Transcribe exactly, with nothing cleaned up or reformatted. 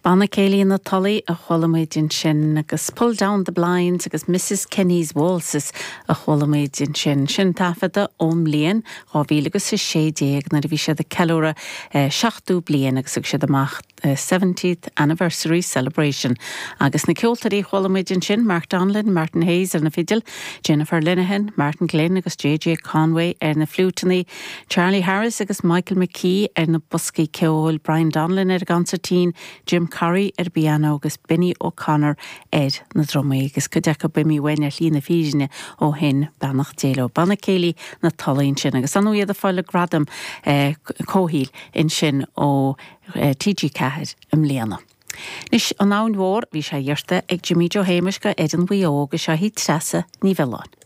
Banna Céilí na Tulaí a chuala muid ansin agus Pull Down the Blinds agus Mrs Kenny's Waltzes a chuala muid ansin sin taifeadta ón mbliain dhá mhíle agus a sé déag nuair a bhí siad ag ceiliúradh seachtó bliain agus thug siad amach seventieth Anniversary Celebration. Agus na ceoltóirí chuala muid ansin Mark Donlan, Martin Hayes ar na fidil, Jennifer Linehan, Martin Glynn agus J J Conway ar na fliúiteanna, Charlie Harris agus Michael McKee ar na boscaí ceoil, Brian Donlan ar an gconsairtín, Jim Curry ar piano agus Benny O'Connor ar na drumaí agus cuid acu imithe uainn ar shlí na fírinne ó shin beannacht Dé leo. Banna Céilí na Tulaí ansin agus an iad ag fáil gradam eh, comhshaoil ansin ó eh, T G Ceathair i mbliana. Anois an Abhainn Mhór bhí sé iarrta ag Jimmy Joe Shéamuis go Éireann Mhaigh Eo agus seo í Treasa Ní Mhiolláin.